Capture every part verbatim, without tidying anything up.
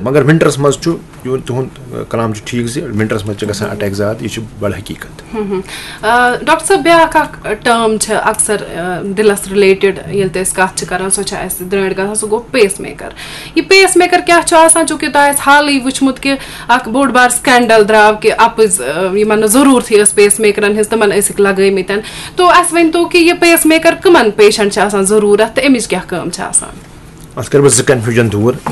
مگر ونٹرس منٛز چھُ یہِ تُہُنٛد کلام چھُ ٹھیٖک زِ ونٹرس منٛز چھِ گژھان اٹیک زیادٕ، یہِ چھُ بڑٕ حقیٖقت۔ آ، ڈاکٹر صٲب، بیٛاکھ اکھ ٹٲرم چھِ اکثر، آ، دِلس رِلیٹڈ ییٚلہِ تہِ أسۍ کتھ چھِ کران، سۄ چھِ اسہِ درٛٲنٛٹھ گژھان، سُہ گوٚو پیس میکر۔ یہِ پیس میکر کیٛاہ چھُ آسان؟ چوٗنٛکہِ تۄہہِ آسہِ حالٕے وٕچھمُت کہِ اکھ بوٚڑ بار سکینڈل درٛاو کہِ اپٕز، آ، یِمن نہٕ ضروٗرتھٕے ٲس پیس میکرن ہٕنٛز، تِمن ٲسِکھ لگٲومٕتۍ۔ تو اسہِ ؤنۍ تو کہِ یہِ پیس میکر کٕمن پیشنٹ چھِ آسان ضروٗرت تہٕ امِچ کیٛاہ کٲم چھِ آسان؟ اتھ کرٕ بہٕ زٕ کنفیوجن دوٗر۔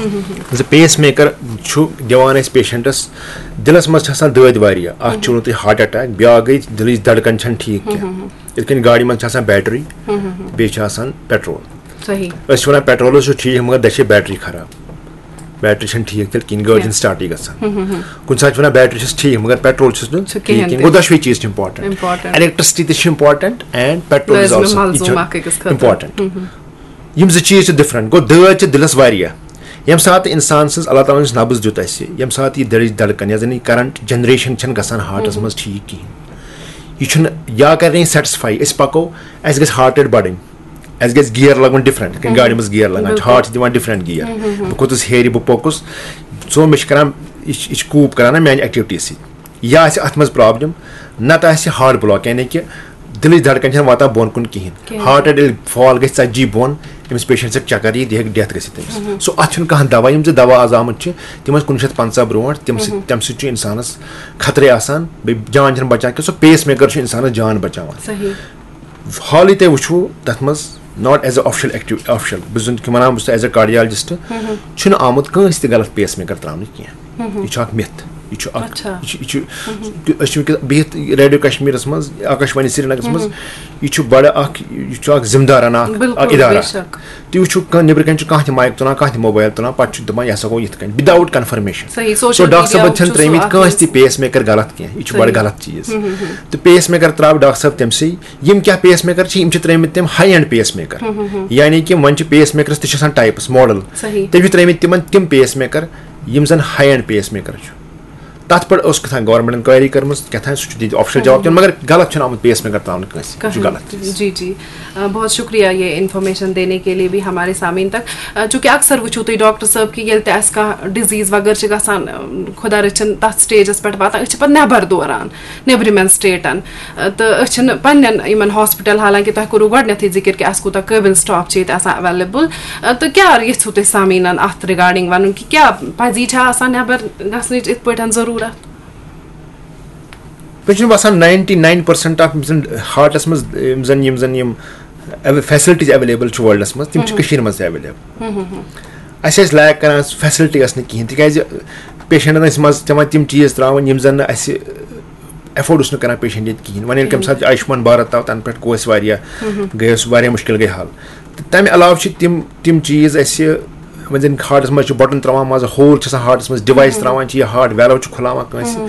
زِ پیس میکر چھُ دِوان اسہِ پیشنٹس، دِلس منٛز چھِ آسان دٲدۍ واریاہ، اکھ چھُ ووٚنمُت تۄہہِ ہارٹ اٹیک، بیٛاکھ گٔے دِلٕچ دڑکن چھنہٕ ٹھیٖک کینٛہہ۔ یِتھ کٔنۍ گاڑِ منٛز چھِ آسان بیٹری، بیٚیہِ چھِ آسان پیٹرول۔ صحیح۔ أسۍ چھِ ونان پیٹرول چھُ ٹھیٖک، مگر دَچھِ بیٹری خراب، بیٹری چھنہٕ ٹھیٖک تیٚلہِ کِہیٖنۍ، گٲڑۍ چھنہٕ سٹارٹٕے گژھان۔ کُنہِ ساتہٕ چھِ ونان بیٹری چھس ٹھیٖک، مگر پیٹرول چھُس نہٕ چھُ کِہیٖنۍ تہِ۔ گوٚو دۄشوے چیٖز چھِ امپورٹنٹ۔ Important۔ الیکٹریسٹی تہِ چھِ امپورٹنٹ اینڈ پیٹرول از لٲزمہِ آلسو ملزوٗم اکھ أکِس خٲطرٕ۔ امپورٹنٹ۔ یِم زٕ چیٖز چھِ ڈفرنٹ۔ گوٚو دٲدۍ چھِ دِلس واریاہ، ییٚمہِ ساتہٕ انسان سٕنٛز اللہ تعالیٰ ہن یُس نبض دیُت اسہِ، ییٚمہِ ساتہٕ یہِ دِلٕچ دڑکن یۄس زن یہِ کرنٹ جنریشن چھنہٕ گژھان ہارٹس منٛز ٹھیٖک کِہیٖنۍ، یہِ چھُنہٕ یا کرِ نہٕ یہِ سیٹسفاے۔ أسۍ پکو، اسہِ گژھِ ہارٹ ریٹ بڑٕنۍ، اسہِ گژھِ گیئر لگُن ڈفرنٹ، کِنہٕ گاڑِ منٛز گیئر لگان چھُ، ہارٹ چھِ دِوان ڈفرنٹ گیئر۔ بہٕ کھوٚتُس ہیرِ، بہٕ پوٚکُس، ژٕ مےٚ چھِ کران، یہِ چھِ یہِ چھِ کوٗپ کران نا میانہِ ایکٹیوٹی سۭتۍ۔ یا آسہِ اتھ منٛز پرابلم، نتہٕ آسہِ ہارٹ بلاک، یعنی کہِ دِلٕچ دھڑکن چھنہٕ واتان بۄن کُن کِہینۍ۔ کِہینۍ۔ ہارٹ ریٹ ییٚلہِ فال گژھِ ژتجی بۄن، أمِس پیشنٹ سۭتۍ چکر یی، دِہک ڈیتھ گٔژھِتھ أمِس۔ سو اتھ چھُنہٕ کانٛہہ دوا، یِم زٕ دوا آز آمٕتۍ چھِ، تِم ٲسۍ کُنوُہ شیٚتھ پنٛژاہ برونٛٹھ، تِم سۭتۍ تمہِ سۭتۍ چھُ انسانس خطرے آسان، بیٚیہِ جان چھنہٕ بچان کینٛہہ۔ سو پیس میکر چھُ انسانس جان بچاوان۔ صحیح۔ حالٕے تۄہہِ وٕچھوٕ تَتھ منٛز، not as a official active official، بہٕ زَن کہِ وَنان بہٕ چھُس as a cardiologist، چھُنہٕ آمُت کٲنٛسہِ تہِ غلط پیس میکر ترٛاونہٕ کینٛہہ۔ یہِ چھُ اکھ مِتھ، یہِ چھُ اکھ، اچھا۔ یہِ چھُ، یہِ چھُ، تہِ أسۍ چھِ وٕنکیٚس بِہِتھ ریڈیو کشمیٖرَس منٛز، آکاش وانی سرینگرَس منٛز، یہِ چھُ بڑٕ اکھ، یہِ چھُ اکھ ذمہٕ دارانہ اکھ، بِلکُل، اکھ ادارہ۔ بے شک۔ تُہۍ وٕچھِو کانٛہہ نیٚبرٕ کَنۍ چھُ کانٛہہ تہِ مایِک تُلان، کانٛہہ تہِ موبایل تُلان، پَتہٕ چھُ دَپان یہِ ہسا گوٚو یِتھ کٔنۍ، without confirmation۔ صحیح، سو social ڈاکٹر media صٲبَن چھُ چھَنہٕ سُہ ترٛٲومٕتۍ اکھ کٲنٛسہِ تہِ چیٖز۔ پیس میکر غلط کینٛہہ، یہِ چھُ بڑٕ صحیح۔ غلط چیٖز۔ تہٕ پیس میکر ترٛاو ڈاکٹر صٲب تٔمۍ سٕے، یِم کیٛاہ پیس میکر چھِ، یِم چھِ ترٛٲومٕتۍ تٔمۍ ہاے اینڈ پیس میکر۔ یعنی کہِ وۄنۍ چھِ پیس میکرس تہِ چھِ آسان ٹایپس ماڈل۔ صحیح۔ تٔمۍ چھِ ترٛٲومٕتۍ تِمن تِم پیس میکر، یِم زن ہاے اینڈ پیس میکر چھُ۔ تَتھ پٮ۪ٹھ اوس کیٛاہ تام گورنمنٹن کویری کٔرمٕژ، کیٛاہ تام سُہ چھُ دِتھ آفشل جواب دِوان، مگر غلط چھُنہٕ آمُت پیس میکر ترٛاونہٕ کٲنٛسہِ، یہِ چھُ کہاں؟ غلط چیٖز۔ جی، جی۔ آ، بہت شکریہ یہ انفارمیشن دینے کے لیے بھی ہمارے سامعین تک۔ آ، چونکہ اکثر وٕچھو تُہۍ ڈاکٹر صٲب کہِ ییٚلہِ تہِ آسہِ کانٛہہ ڈِزیٖز وغٲرٕ چھِ گژھان، آ، خۄدا رٔچھِن تَتھ سٹیجَس پٮ۪ٹھ واتان، أسۍ چھِ پَتہٕ نٮ۪بَر دوران، نیٚبرِمٮ۪ن سٹیٹَن۔ آ، تہٕ أسۍ چھِنہٕ پنٛنٮ۪ن یِمَن ہاسپِٹَل، حالانکہِ تۄہہِ کوٚروٕ گۄڈٕنٮ۪تھٕے ذِکِر کہِ اَسہِ کوٗتاہ قٲبِل سٹاف چھِ ییٚتہِ آسان ایویلیبٕل۔ آ، تہٕ کیٛاہ یَژھِو تُہۍ سامعیٖنَن اَتھ رِگارڈِنٛگ وَنُن کہِ کیٛاہ پَزی چھا آسان نٮ۪بَر گژھنٕچ یِتھ پٲٹھۍ ضروٗرت؟ مےٚ چھُنہٕ باسان ninety nine percent of یِم زَن ہارٹَس منٛز یِم زَن یِم زَن یِم فیسلٹیٖز ایویلیبٕل چھِ ورلڈَس منٛز، تِم چھِ کٔشیٖرِ منٛز تہِ ایویلیبٕل۔ اَسہِ ٲسۍ لیک کران، فیسلٹی ٲس نہٕ کِہینۍ، تِکیازِ پیشنٹن ٲسۍ منٛزٕ پٮ۪وان تِم چیٖز ترٛاوٕنۍ یِم زَن نہٕ اَسہِ ایفٲرڈ اوس نہٕ کران پیشنٹ ییٚتہِ کِہینۍ۔ وۄنۍ ییٚلہِ کَمہِ ساتہٕ آیوشمان بھارت آو، تَنہٕ پٮ۪ٹھ گوٚو اَسہِ واریاہ، گٔے اَسہِ واریاہ مُشکِل گٔے حل۔ تہٕ تَمہِ علاوٕ چھِ تِم تِم چیٖز اَسہِ، وۄنۍ زَن ہارٹَس منٛز چھِ بٹن ترٛاوان، منٛزٕ ہول چھِ آسان ہارٹَس منٛز، ڈِوایس ترٛاوان چھِ یا ہارٹ ویلو چھُ کھُلاوان کٲنٛسہِ۔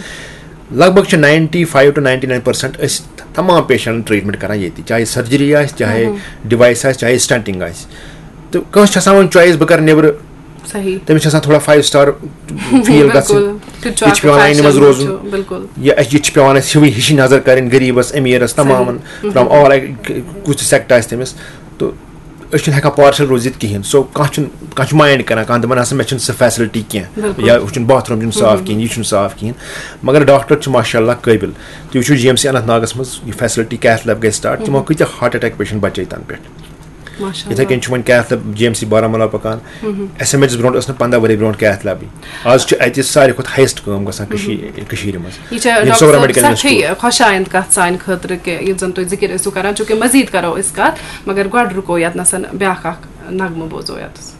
لگ بگ چھِ ninety five to ninety nine percent أسۍ تمام پیشنٹن ٹریٹمنٹ کران ییٚتی، چاہے سرجری آسہِ، چاہے ڈِوایس آسہِ، چاہے سٹنٹنگ آسہِ۔ تہٕ کٲنٛسہِ چھِ آسان وۄنۍ چویس، بہٕ کرٕ نیبرٕ۔ صحیح۔ تٔمِس چھِ آسان تھوڑا فایو سٹار فیٖل گژھُن۔ بِلکُل۔ تہِ چھُ یہِ اکھ چھُ پٮ۪وان لاینہِ منٛز فیشن، روزُن۔ چھُ، بِلکُل۔ یہِ اَسہِ، یہِ چھِ پٮ۪وان اَسہِ ہِوٕے ہِشی نظر کَرٕنۍ غریٖبَس، أمیٖرَس، تمامَن، from all، کُس تہِ سیکٹر آسہِ تٔمِس۔ تہٕ أسۍ چھِنہٕ ہٮ۪کان پارشل روٗزِتھ کِہینۍ۔ سو کانٛہہ چھُنہٕ، کانٛہہ چھُ مایِنڈ کران، کانٛہہ دَپان آسان مےٚ چھُنہٕ سۄ فیسلٹی کینٛہہ، بِلکُل۔ یا ہُہ چھُنہٕ باتھ روٗم چھُنہٕ صاف کِہینۍ، یہِ چھُنہٕ صاف کِہینۍ۔ مگر ڈاکٹر چھِ ماشاء اللہ قٲبِل۔ تُہۍ وٕچھِو جی ایم سی اننت ناگَس منٛز یہِ فیسلٹی کیتھ لیب گٔے سٹارٹ، تِمو کۭتیاہ ہارٹ اٹیک پیشنٹ بچے تَنہٕ پٮ۪ٹھ۔ ماشاء یِتھَے کٔنۍ چھُ وۄنۍ کیتھ lab G M C Baramulla پکان۔ ایس ایم ایچ برونٛٹھ ٲس نہٕ پنٛداہ ؤری برونٛٹھ کیتھ لیبٕے۔ آز چھُ اَتہِ ساروی کھۄتہٕ ہایسٹ کٲم گژھان کٔشیٖر، کٔشیٖرِ منٛز۔ یہِ چھِ ییٚمہِ ڈاکٹر سوبرا صٲب میڈیکل سٮ۪ٹھٕے انسٹیٹیوٹ۔ خۄش آیند کَتھ سانہِ خٲطرٕ کہِ یُتھ زَن تُہۍ ذِکِر ٲسِو کَران، چوٗنٛکہِ مٔزیٖد کَرو أسۍ کَتھ، مگر گۄڈٕ رُکو ییٚتنَس بیٛاکھ اَکھ نغمہٕ بوزو ییٚتَس۔